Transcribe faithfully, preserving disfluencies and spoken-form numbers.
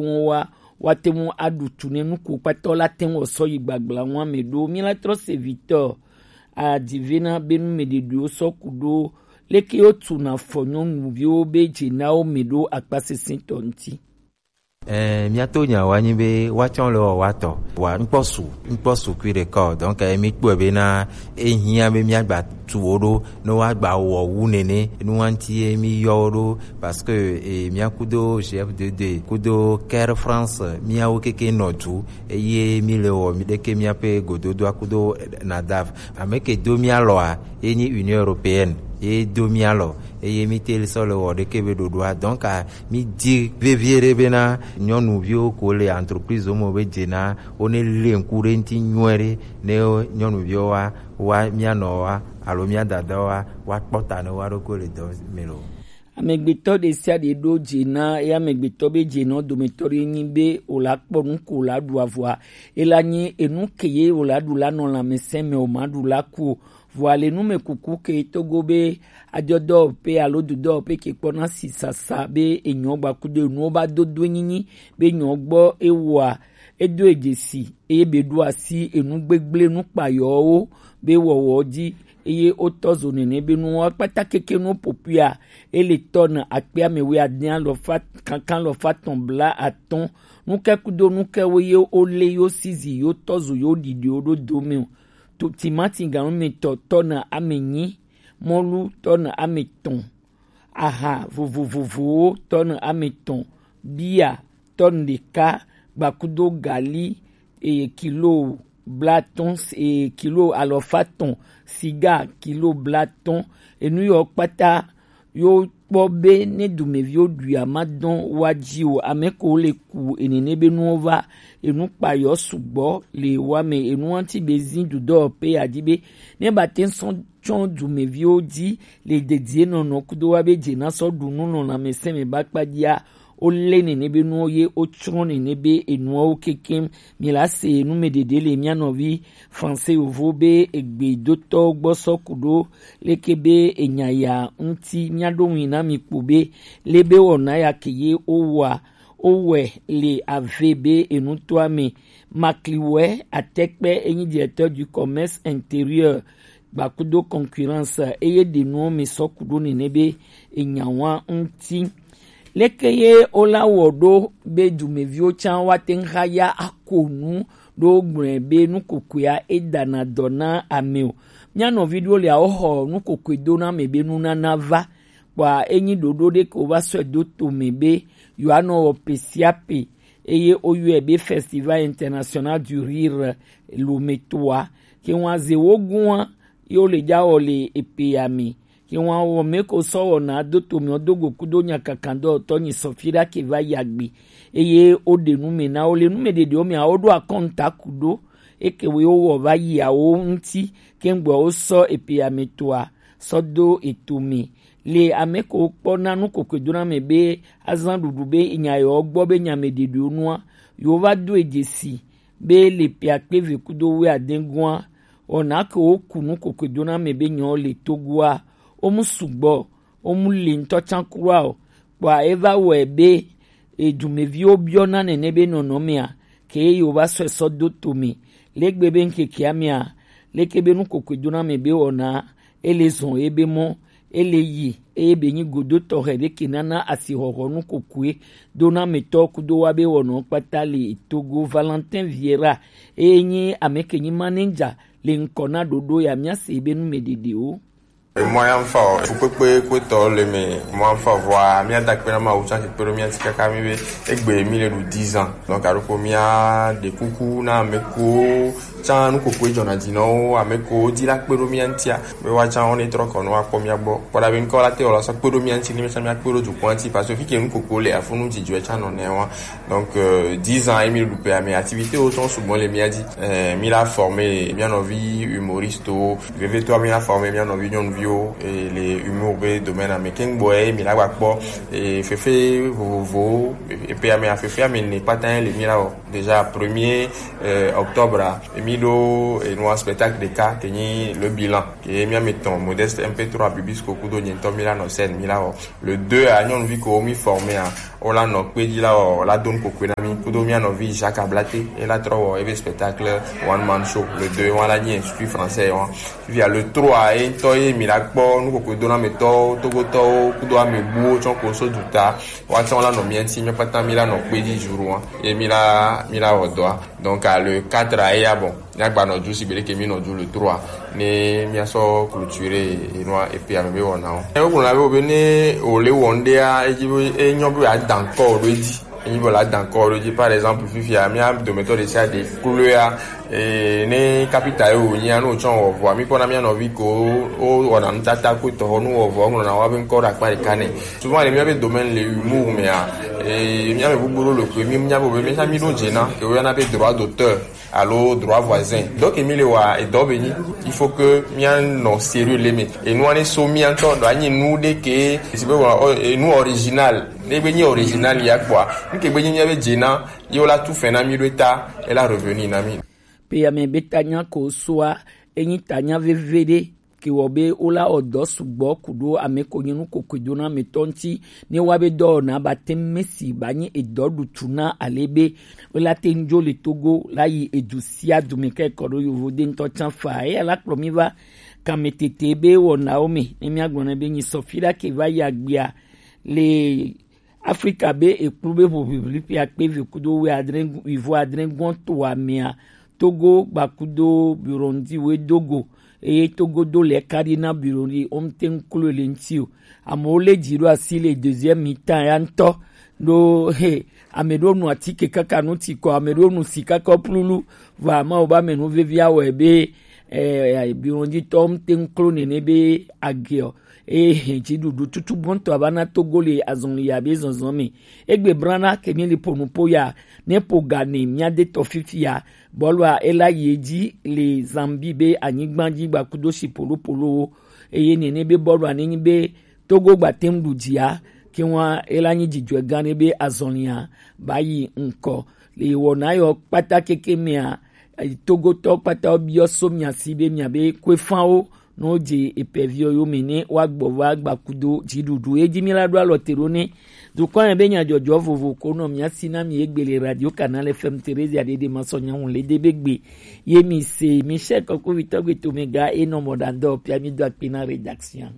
ŋu wa, woate ŋu aɖu tu ne nu ko kpata wo la te ŋu wɔ sɔ yi gbagbla ŋu ame ɖo. Mí la trɔ se vitɔ adive na be nu mɛ ɖeɖewo sɔ ku ɖo leke wo tu na fɔ nyɔnuviwo be dze na wo mɛ ɖo akpa sesẽ tɔ ŋuti. Ɛɛ, míato nya wa nyi be woatsɔ le wɔ wa tɔ. Wa ŋkpɔ su, ŋkpɔ su kui ɖeka o. Donc, eh, mi kpɔe be na ehiã be míagba tu wo ɖo, ne woagba wɔ wu nene, nu wa ŋuti ye mi yɔ wo ɖo, parce que, eh, mía kudo G F D D, kudo Care France, míawo keke nɔ du, eye mi le wɔ mi ɖeke míaƒe gododoa kudo, eh, NADAF. Ame ke do mía lɔa, ye nyi Union Européenne, ye do mía lɔ, eye mi te sɔ le wɔ ɖeke be ɖoɖoa. Donc, ah, mi di vevie ɖe bena nyɔnuviwo ko le entreprise me be dze na wo ne le ŋku ɖe ŋuti nyuie ɖe, ne nyɔnuviwo wa, wa mía nɔ wa, alo mía dada wa, wa kpɔ ta ne wa ɖokui le dɔ me lo. Amegbetɔ ɖe sia ɖe ɖo dze na ye amegbetɔ be dze nɔ dometɔ ɖe nyi be o la kpɔ nu ko o la ɖu avɔa, e la nyi enu ke ye o la ɖu la nɔ lãmesẽ me o ma ɖu la ku o. Vɔa le nu me kuku ke Togo be ajɔdɔwɔƒe alo dodɔwɔƒe ke kpɔna sisasa be enyɔ gbakudo enuwo ba dodo nyinyi be nyɔ gbɔ ewoa, edo edzesi eye be ɖo asi enu gbegble nu kpayɔwo be wɔwɔ dzi, eye wotɔ zo nene be nuwo kpata keke nu popuia ele tɔ na akpe ame wi ade alɔfa kankan alɔfa tɔn bla atɔn. Nuke kudo nuke wo ye wo le yo sizi yo tɔ zo yo ɖiɖiwo ɖo do me o. To timati ganu me tɔ tɔ na ame nyi, mɔlu tɔ na ame tɔn, aha vovovovowo tɔ na ame tɔn, bia tɔ na ɖeka, gbakudo gali, eye kilo blatɔn, eye kilo alɔfa tɔn, siga kilo blatɔn, enu yɔ kpata yo kpɔ be ne dumeviwo ɖui a ma dɔn wa dzi o, ame ko le ku enene be nuwo va, enu kpayɔ sugbɔ le wa me, enu wa ŋuti be zin dudɔ pe ya dzi be ne ba te sɔn tsɔ dumeviwo dzi le dedie nɔnɔ kudo wa be dze na sɔ ɖu nu nɔ lãmesẽ me ba kpa dzia, wo le nene be nuwo ye wo tsrɔ̃ nene be enuwo kekem. Mi la se nu me ɖeɖe le mía nɔvi Français yovo be egbe dotɔ gbɔ sɔ ku ɖo leke be enya ya ŋuti mía ɖo ŋui na mi kpo be le be wɔna ya ke ye wo wa wo wɛ le ave be enutɔa me. Makliwɛ Atɛkpɛ enyi directeur du commerce intérieur gbakudo concurrence eye ɖe nuwo mi sɔ ku ɖo nene be enya wa ŋuti. Leke ye wo la wɔ ɖo be dumeviwo tsã wa te ŋu xa ya ako nu ɖo gblɔe be nu kokoea e dana dɔ na ame o. Mía nɔvi ɖewo le awo xɔ nu kokoe do na ame be nunana va. Kpɔa enyi ɖoɖo ɖe ke wo va sɔe do to me be yewoanɔ wɔ pe sia pe, eye woyɔe be Festival International du Rire Lometoa. Ke ŋua ze wo gua ye wo le dza wɔ le epe ya me. Ke ŋua wɔ me ko sɔ wɔna do to me do go kudo nyakakan dɔtɔ nyi sɔfi ɖa ke va yi agbe. Eye wo ɖe nu me na wo le nu me ɖeɖewo me awo ɖo akɔnta ku ɖo. Eke wo wɔ va yi awo ŋuti ke ŋgbɔ wo sɔ epe ya me toa sɔ do eto me. Le ame ko kpɔ na nu kokoe do na me be azan ɖuɖu be enya yewo gbɔ be nya me ɖeɖewo nua, yewo va do edzesi be le pe akpe ve kudo wuiade gua, wɔna ke wo ku nu kokoe do na me be nyawo le Togoa, wo mu sugbɔ, wo mu le ŋutɔ tsã kura o. Kpɔa e va wɔe be edumeviwo biɔna nene be nɔnɔmea, ke ye wo va sɔe sɔ do to me. Legbe be ŋkekea mea, leke be nu kokoe do na me be wɔna, ele zɔn ebe mɔ, ele yi, eye be nyi godo tɔxɛ ɖe ke nana asixɔxɔ nu kokoe do na metɔ kudo wa be wɔnɔ kpata le Togo. Valentin Vieira, eye nyi ame ke nyi manager le ŋkɔ na ɖoɖo ya mía se be nu me ɖeɖewo. Emɔ ya ŋfa o, fukpekpe kpetɔ le me, mɔ ya ŋfa vɔa, mía da kpe na Mawu tsã ke kpe ɖo mía ŋuti kaka mi be egbe mi le ɖu dix ans. Donc, aɖo ko mía ɖe kuku na ame ko tsã nu koko dzɔna dzi na wo, ame ko di la kpe ɖo mía ŋutia, be wa tsã wo ne trɔ kɔ no wa kpɔ mía gbɔ. Kpɔ ɖa be ŋkɔ la te wɔ la sɔ kpe ɖo mía ŋuti, ne mía tsã mía kpe ɖo dukɔa ŋuti, parce que fi ke nu koko le afu nu dzidzɔe tsã nɔ nɛ wa. Donc, euh, dix ans ye mi ɖu pea me, activité wo tsã sugbɔ le mía dzi. Euh, mi la former mía nɔvi humoriste wo, vevietɔ mi la former mía nɔvi nyɔnuviwo, eh, le humour be domaine me. Kengboe mi la gba kpɔ, eh, fefe vovovowo, eh, pea me, fefe ame ne kpata le mi la wɔ. Déjà premier, euh, octobre, eh, mi ɖo, eh, nua spectacle ɖeka ke nyi le bilan. Ke mía me tɔn Modeste M P trois Bibisco kudo nyɛntɔ mi la nɔ scène mi la wɔ. Le deux a nyɔnuvi ko mi former a, Wola nɔ kpe dzi la wɔ la do nukokui na mi kudo mia nɔvi Jacques Ablate, e la trɔ wɔ ebe spectacle one man show. Le deux wa la nyi Institut Français wa. Fifia le trois ye ŋutɔ ye mi la kpɔ nukokui do na ametɔwo, togotɔwo kudo amebuwo tsɔ ko so duta. Wa tsɔ la nɔ mia ŋuti, mi kpata mi la nɔ kpe dzi jour wa. Ye mi la mi la wɔ dɔa. Donc à le quatre a eya bon. Míagbanɔ ju sigbe ɖeke mí nɔ ju le trois ne míasɔ clôturer enua et puis ame be wɔnawo. Ewɔ gblɔ na be be ne wòle wɔ ŋɖea, edzi be enyɔ be wòada ŋkɔ ɖo edzi. Enyi be wòada ŋkɔ ɖo edzi. Par exemple, fifia mía dometɔ ɖe sia ɖe kloea, eh, ne kapita ye wònyia, ne wòtsɔ wɔ vɔa, míkpɔna mía nɔvi ko wowɔna nutata ko tɔxɔ nu wɔ vɔa, woŋlɔna woabe ŋkɔ ɖe akpa ɖeka nɛ. Souvent le míabe domaine le humour mea, eh, míame gbogbo ɖo le koe, mí míabe be mía mí ɖo dze na ke woyɔna be droit d'auteur alo droit voisin. Donc mi le wa edɔ be nyi, il faut que mía nɔ sérieux le me. Enua ne so mía ŋutɔ ɖo anyi nu ɖe ke si be wa enu original. Ne be nyi original ya kpɔa, nu ke be nyi mía be dze na ye wola tu fɛn na mí ɖo eta, ela revenu na mí. Pe ame be tanya ko soa, enyi tanya veve ɖe ke wɔ be wola wɔ dɔ sugbɔ ku ɖo ame ko nye nu kokui do na ame tɔ ŋuti, ne wa be dɔwɔna ba te mesi ba nyi edɔ ɖutu na ale be wola te ŋdzo le Togo la yi edu sia du me kɔ ɖo yovo de ŋutɔ tsan fa. Eya la kplɔ mi va kame tete be wɔnawo me, ne mía gblɔ na be nyi sɔfi ɖa ke va yi agbea le Afrika be ekplu be ʋuʋiʋli ƒe akpe eve kudo wuiadre, wuivo adre gɔn to amea, Togo gbakudo Burundi we dogo, eye Togo do le ka ɖi na Burundi, wo mte ŋklo le ŋuti o. Amewo lé dzi ɖo asi le deuxième mi-temps ya ŋutɔ. Ɖo he, ame ɖewo nu atike kaka nu ti kɔ, ame ɖewo nu si kaka plulu, vɔ Mawu be ame nu vevi awɔe be, eh, Burundi tɔwo mte ŋklo nene be age o. Eye hɛn dziɖuɖu tutu gbɔntɔ ava na Togo le azɔli abe zɔzɔ me. Egbe brana ke mi li po nupo ya, ne po ga ne mía de tɔ fifia. Bɔlua ela yi edzi le Zambie be anyigba dzi gbakudo si polopolowo. Eye nene be bɔlua ne nyi be Togo gba tem ɖu dzia, ke wa ela nyi dzidzɔe gã ne be azɔlia ba yi ŋkɔ. Le wɔna yɔ kpata keke mea, Togotɔ kpata wo biɔ so mia si be mia be kwe fanwo no dze epɛviɔ yo me ne wa gbɔ va gbakudo dziɖuɖu. Edzi mi la ɖo alɔ te ɖo ne dukɔ yɛ be nyadzɔdzɔ vovo ko nɔ mia si na mi egbe le Radio Canal F M Theresia ɖeɖe ma sɔ nyawu le de be gbe ye mi se mi se kɔkɔ vitɔ gbe to me ga e nɔ mɔ ɖandɔ pia mi do akpe na rédaction.